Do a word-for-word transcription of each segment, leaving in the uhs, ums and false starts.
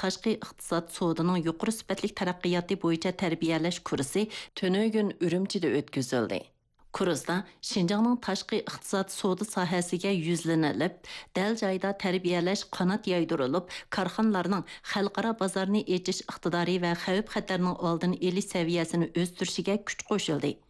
تاشقى ئىقتىساد سودىنىڭ يۇقىرى سۈپەتلىك تەرەققىياتى بويىچە تەربىيەلەش كۇرسى تۈنۈگۈن ئۈرۈمچىدە ئۆتكۈزۈلدى. كۇرستا شىنجاڭنىڭ تاشقى ئىقتىساد سودا ساھەسىگە يۈزلىنىلىپ، دەل جايىدا تەربىيەلەش قانات يايدۇرۇلۇپ، كارخانىلارنىڭ خەلقئارا بازارنى ئېچىش ئىقتىدارى ۋە خەۋپ-خەتەرنىڭ ئالدىنى ئېلىش سەۋىيەسىنى ئۆستۈرۈشىگە كۈچ قوشۇلدى.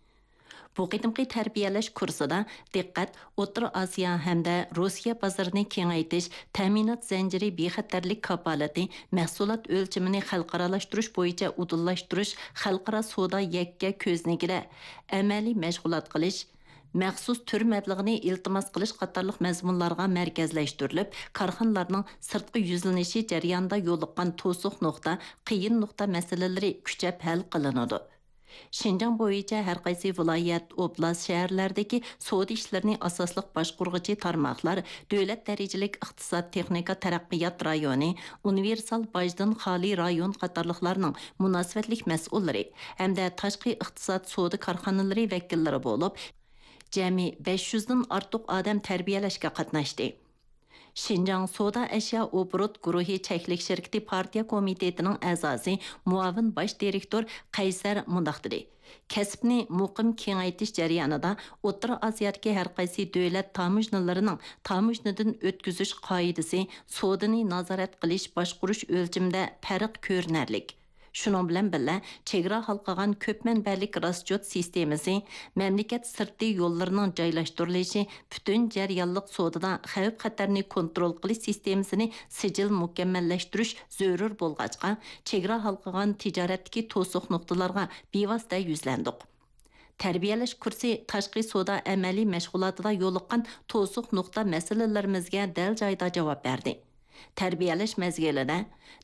بۇ قېتىمقى تەربىيەلەش كۇرسىدا دىققەت ئوتتۇرا ئاسىيا ھەمدە روسىيە بازىرىنى كېڭەيتىش، تەمىنات زەنجىرى بىخەتەرلىك كاپالىتى، مەھسۇلات ئۆلچىمىنى خەلقئارالاشتۇرۇش بويىچە ئۇدۇللاشتۇرۇش، خەلقئارا سودا يەككە كۆزنىكىدە ئەمەلىي مەشغۇلات قىلىش، مەخسۇس تۈر مەبلىغىنى ئىلتىماس قىلىش قاتارلىق مەزمۇنلارغا مەركەزلەشتۈرۈلۈپ، كارخانىلارنىڭ سىرتقا يۈزلىنىشى جەريانىدا يولۇققان توسۇق نۇقتا، قىيىن نۇقتا مەسىلىلىرى كۈچەپ ھەل قىلىنىدۇ. شىنجاڭ بويىچە ھەر قايسى ۋىلايەت، ئوبلاست، شەھەرلەردىكى سودا ئىشلىرىنى ئاساسلىق باشقۇرغۇچى تارماقلار، دۆلەت دەرىجىلىك ئىقتىساد تېخنىكا تەرەققىيات رايونى، ئۇنىۋېرسال باجدىن خالىي رايون قاتارلىقلارنىڭ مۇناسىۋەتلىك مەسئۇللىرى ھەمدە تاشقى ئىقتىساد سودا كارخانىلىرى ۋەكىللىرى بولۇپ، جەمئىي بەش يۈزدىن ئارتۇق ئادەم تەربىيەلەشكە قاتناشتى. شىنجاڭ سودا ئەشيا ئوبوروت گۇرۇھى چەكلىك شىركىتى پارتىيە كومىتېتىنىڭ ئەزاسى، مۇئاۋىن باش دىرېكتور قەيسەر مۇنداق دېدى: كەسىپنى مۇقىم كېڭەيتىش جەريانىدا ئوتتۇرا ئاسىيادىكى ھەر قايسى دۆلەت تاموژنىلىرىنىڭ تاموژنىدىن ئۆتكۈزۈش قائىدىسى، سودىنى نازارەت قىلىش، باشقۇرۇش ئۆلچىمىدە پەرق كۆرۈنەرلىك. شۇنىڭ بىلەن بىللە، چېگرا ھالقىغان كۆپ مەنبەلىك راسچوت سىستېمىسى، مەملىكەت سىرتى يوللىرىنىڭ جايلاشتۇرۇلۇشى، پۈتۈن جەريانلىق سودىدا خەۋپ-خەتەرنى كونترول قىلىش سىستېمىسىنى سىجىل مۇكەممەللەشتۈرۈش زۆرۈر بولغاچقا، چېگرا ھالقىغان تىجارەتتىكى توسۇق نۇقتىلارغا بىۋاسىتە يۈزلەندۇق. تەربىيەلەش كۇرسى تاشقى سودا ئەمەلىي مەشغۇلاتىدا يولۇققان توسۇق نۇقتا مەسىلىلىرىمىزگە دەل جايىدا جاۋاب بەردى. تەربىيەلەش مەزگىلىدە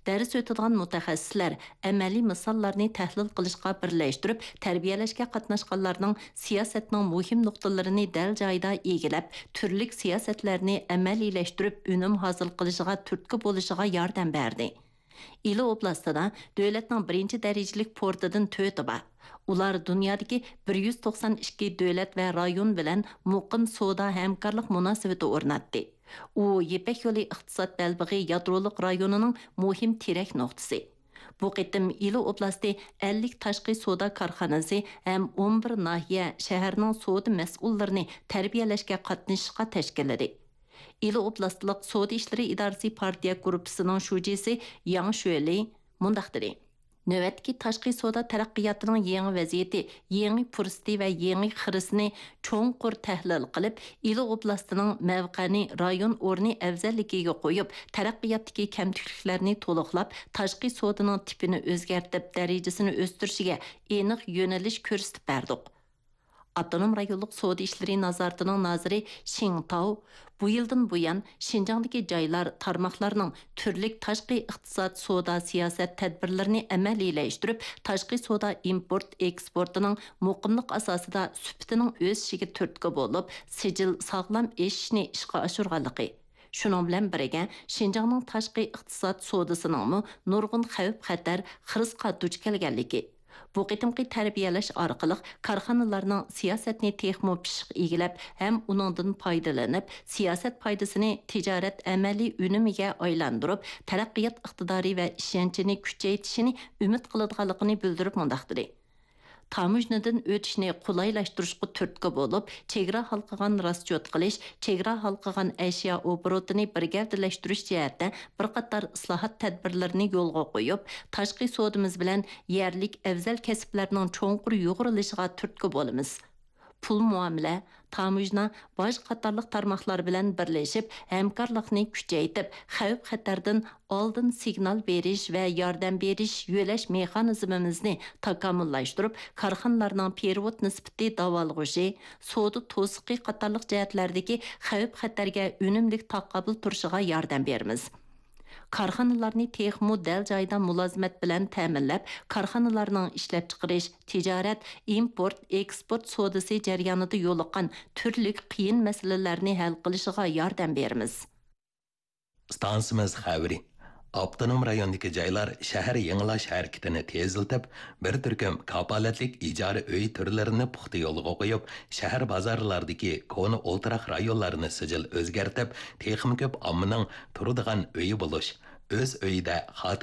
دەرس ئۆتىدىغان مۇتەخەسسىسلەر ئەمەلىي مىساللارنى تەھلىل قىلىشقا بىرلەشتۈرۈپ، تەربىيەلەشكە قاتناشقانلارنىڭ سىياسەتنىڭ مۇھىم نۇقتىلىرىنى دەل جايىدا ئىگىلەپ، تۈرلۈك سىياسەتلەرنى ئەمەلىيلەشتۈرۈپ، ئۈنۈم ھاسىل قىلىشىغا تۈرتكە بولۇشىغا ياردەم بەردى. ئىلى ئوبلاستىدا دۆلەتنىڭ بىرىنچى دەرىجىلىك پورتىدىن تۆتى بار. ئۇلار دۇنيادىكى بىر يۈز توقسان ئىككى دۆلەت ۋە رايون بىلەن مۇقىم سودا ھەمكارلىق مۇناسىۋىتى ئورناتتى. ئۇ يىپەك يولى ئىقتىساد بەلبېغى يادرولۇق رايونىنىڭ مۇھىم تىرەك نۇقتىسى. بۇ قېتىم ئىلى ئوبلاستى ئەللىك تاشقى سودا كارخانىسى ھەم ئون بىر ناھىيە، شەھەرنىڭ سودا مەسئۇللىرىنى تەربىيەلەشكە قاتنىشىشقا تەشكىللىدى. ئىلى ئوبلاستلىق سودا ئىشلىرى ئىدارىسى پارتىيە گۇرۇپپىسىنىڭ شۇجىسى ياڭ شۆلى مۇنداق دېدى: نۆۋەتتىكى تاشقى سودا تەرەققىياتىنىڭ يېڭى ۋەزىيىتى، يېڭى پۇرسىتى ۋە يېڭى خىرىسىنى چوڭقۇر تەھلىل قىلىپ، ئىلى ئوبلاستىنىڭ مەۋقەنى رايون ئورنى ئەۋزەللىكىگە قويۇپ، تەرەققىياتتىكى كەمتۈكلۈكلەرنى تولۇقلاپ، تاشقى سودىنىڭ تىپىنى ئۆزگەرتىپ، دەرىجىسىنى ئۆستۈرۈشىگە ئېنىق يۆنىلىش كۆرسىتىپ بەردۇق. ئاپتونوم رايونلۇق سودا ئىشلىرى نازارىتىنىڭ نازىرى شىڭ تاۋ بۇ يىلدىن بۇيان شىنجاڭدىكى جايلار، تارماقلارنىڭ تۈرلۈك تاشقى ئىقتىساد، سودا، سىياسەت تەدبىرلىرىنى ئەمەلىيلەشتۈرۈپ، تاشقى سودا ئىمپورت ئېكسپورتىنىڭ مۇقىملىق ئاساسىدا سۈپىتىنىڭ ئۆسۈشىگە تۈرتكە بولۇپ، سىجىل ساغلام ئېشىشنى ئىشقا ئاشۇرغانلىقى، شۇنىڭ بىلەن بىرگە، شىنجاڭنىڭ تاشقى ئىقتىساد سودىسىنىڭمۇ نۇرغۇن خەۋپ-خەتەر، خىرىسقا دۇچ كەلگەنلىكى، بۇ قېتىمقى تەربىيەلەش ئارقىلىق كارخانىلارنىڭ سىياسەتنى تېخىمۇ پىششىق ئىگىلەپ ھەم ئۇنىڭدىن پايدىلىنىپ، سىياسەت پايدىسىنى تىجارەت ئەمەلىي ئۈنۈمىگە ئايلاندۇرۇپ، تەرەققىيات ئىقتىدارى ۋە ئىشەنچىنى كۈچەيتىشىنى ئۈمىد قىلىدىغانلىقىنى بىلدۈرۈپ مۇنداق دېدى: تاموژنىدىن ئۆتۈشنى قولايلاشتۇرۇشقا تۈرتكە بولۇپ، چېگرا ھالقىغان راسچوت قىلىش، چېگرا ھالقىغان ئەشيا ئوبوروتىنى بىر گەۋدىلەشتۈرۈش جەھەتتە بىر قاتار ئىسلاھات تەدبىرلىرىنى يولغا قويۇپ، تاشقى سودىمىز بىلەن يەرلىك ئەۋزەل كەسىپلەرنىڭ چوڭقۇر يۇغۇرۇلۇشىغا تۈرتكە بولىمىز. پۇل مۇئامىلە، تاموژنا، باج قاتارلىق تارماقلار بىلەن بىرلىشىپ، ھەمكارلىقنى كۈچەيتىپ، خەۋپ-خەتەردىن ئالدىن سىگنال بېرىش ۋە ياردەم بېرىش يۆلەش مېخانىزمىمىزنى تاكامۇللاشتۇرۇپ، كارخانىلارنىڭ پېرېۋوت نىسبىتى داۋالغۇشى، سودا توسۇقى قاتارلىق جەھەتلەردىكى خەۋپ-خەتەرگە ئۈنۈملۈك تاقابىل تۇرۇشىغا ياردەم بېرىمىز. كارخانىلارنى تېخىمۇ دەل جايىدا مۇلازىمەت بىلەن تەمىنلەپ، كارخانىلارنىڭ ئىشلەپچىقىرىش، تىجارەت، ئىمپورت، ئېكسپورت سودىسى جەريانىدا يولۇققان تۈرلۈك قىيىن مەسىلىلەرنى ھەل قىلىشىغا ياردەم بېرىمىز. ئىستانسىمىز خەۋىرى. ئاپتونوم رايوندىكى جايلار شەھەر يېڭىلاش ھەرىكىتىنى تېزلىتىپ، بىر تۈركۈم كاپالەتلىك ئىجارە ئۆي تۈرلىرىنى پۇختا يولغا قويۇپ، شەھەر بازارلاردىكى كونا ئولتۇراق رايونلارنى سىجىل ئۆزگەرتىپ، تېخىمۇ كۆپ ئاممىنىڭ تۇرىدىغان ئۆيى بولۇش، ئۆز ئۆيىدە خاتىرە